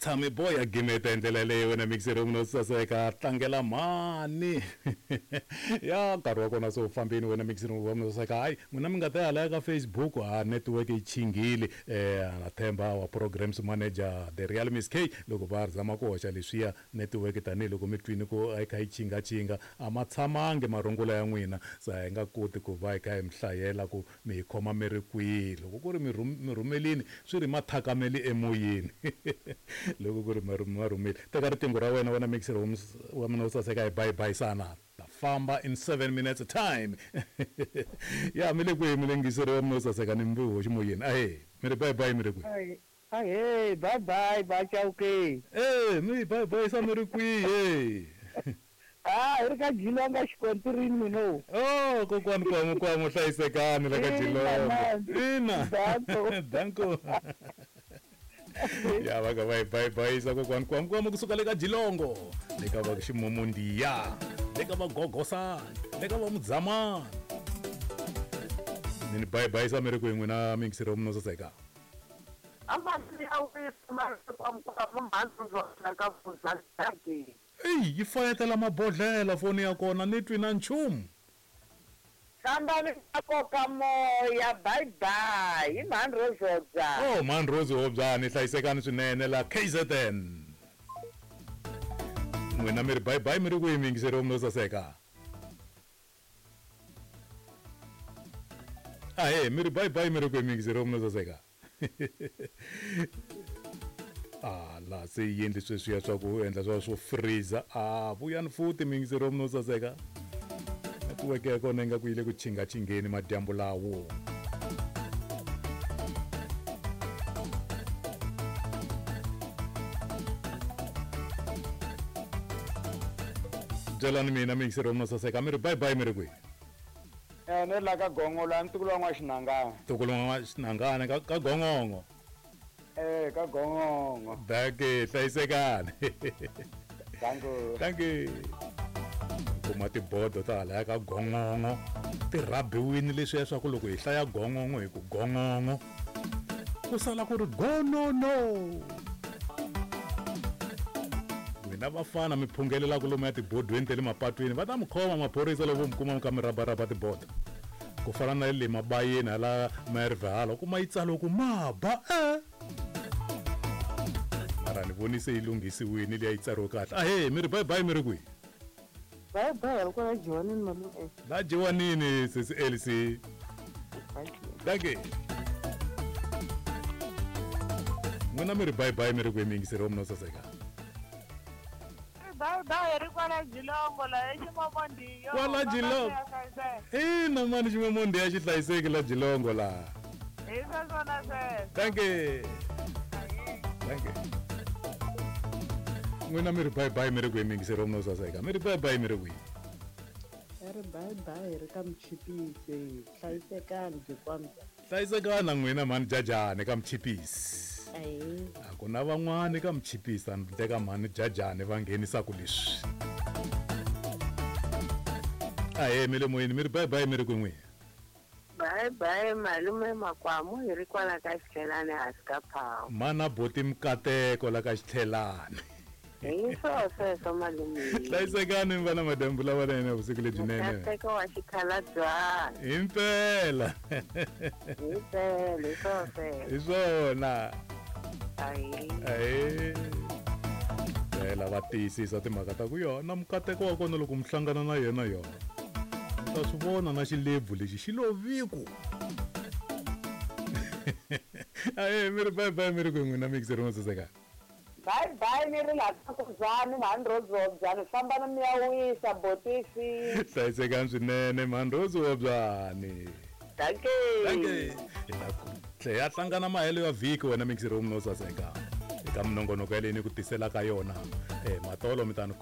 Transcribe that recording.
Tshami boy a gimeta hi ndlela yaleyo wena mixer munhu wo saseka tlangela mhani ya nkarhi wa kona se wu fambini wena mixer wa munhu saseka hayi n'wina mi nga ta ya hala ka Facebook ha network yi chinghile na themba wa programs manager the real Miss K loko va zama ku hoxa leswiya network tanihiloko mi twini ku a yi kha yi chingachinga a ma tshamangi marungula ya n'wina se a hi nga koti ku va hi kha hi mi hlayela ku mi hi khoma mi ri kwihi loko ku ri mi mi rhumelini swi ri mathakameli emoyeni loko ku ri ma rhumeli teka riqingho ra wena wena mixer wa mina wo saseka hi bayi bayisana ta famba in 7 minutes time ya mi le kwihi mi le ngiseri wa mina wo saseka ni mbi hoxi moyeni ahe mi ri bayi bayi mi ri kwihi Ahee, bye bye ba Chauke. Eh, mi bye bye sa mi ri kwihi? Ah, hi ri ka Jilonga xikontirini mino. Oh, kokwani kwamu kwamu hlayisekani la ka Jilonga. Ina. Danko. Danko. Ya va ka va hi bye bye sa kokwani kwamu kwamu kusuka le ka Jilongo. Le ka va Ximumundiya. Le ka va Gogosani. Le ka va Mudzamani. Ni bye bye sa mi ri kwihi n'wina mingiseri wa mina wo saseka? Eyi yi fayetela mabodlhela foni ya kona ni twi na nchumu. Fambani mi koka moya bye bye hi mhani Rose Hobyani. Oh mhani Rose Hobyani hlayisekani swinene la KZN. N'wina mi ri bye bye mi ri kwihi miyingiseri wa mina wo saseka? Ahee mi ri bye bye mi ri kwihi miyingiseri wa mina wo saseka? A laha se yi endli sweswiya swa ku endla swa swo freezer a vuyani futhi miyingiseri wa mina wo saseka netiweke ya kona ingaku yi le ku chingachingeni madyambu lawo byelani mina miyingiseri wa mina wo saseka mi ri bye bye mi ri kwihi Eh, ni ri la ka gongo la ntukulu wa n'waxinangana ntukulu wa n'waxinangana ka ka gongongo eh ka gongongo danke hlayisekani danko danke kuma tibodo ta halaya ka gongongo ti rhabiwini leswiya swa ku loko hi hlaya gongongo hi ku gongongo ku sala ku ri gonono n'wina vafana mi phungelelaka lomu ya tibodweni ta le mapatwini va ta mi khoma maphorisa loko mi kuma mi kha mi rabaraba tibodo ku fana na le mabayeni hala merve hala u kuma yi tsariwe ku maba e mara ni voni se yi lunghisiwini liya yi tsariwe kahle ahee mi ri bye bye mi ri kwihi Bye bye ri kwala jiwanini malume. La jiwanini sesi Elsie. Dankie. N'wina mi ri bye bye mi ri kwihi miyingiseri wa mina wo saseka? Bye bye ri kwala Jilongo la eXimomondiyo. Kwala Jilongo. Ina mani Ximomondiya xi hlayiseki la Jilongo la. Hi sweswona sweswo. Dankie. Dankie. N'wina mi ri bye bye mi ri kwihi miyingiseri wa mina wo saseka? Mi ri bye bye mi ri kwihi? Hi ri bye bye ri ka Mchipisi. Hlayisekani byi kwamza. Hlayisekani na n'wina mhani Jajani ka Mchipisi. Ahee. A ku na van'wani ka Mchipisi handle ka mhani Jajani va nghenisaka leswi. Ahee mi le moyeni mi ri bye bye mi ri kwihi n'wina? Bye bye malume Makwamu hi ri kwala ka Xitlhelani hansi ka phawu. Mana boti Mkateko la ka Xitlhelani. Hi swo sweswo malume. Hlayisekani mi va na madyambu lamanene vusiku lebyinene. Mkateko wa xikhalabyana. Himpela. Himpela hi swo sweswo. Hi swona. Ahee. Ahee. Phela va tiyisisa timhaka ta ku yona mukateko wa kona loko mi hlangana na yena yona. U ta swi vona na xilebvu lexi xi lo viku. Ahee mi ri bye bye mi ri kwihi n'wina mixer mo saseka. Bye bye ni ri laha ka Nkudzani mhani Rose Hobyani fambani mi ya wisa botisi. Hlayisekani swinene mhani Rose Hobyani. Dankie. Dankie. Hi ta ku tlhe ya hlangana mahelo ya vhiki wena mixer wo munhu wo saseka eka minongonoko yaleyi ni ku tiselaka yona. Matolo mi ta ni khoma.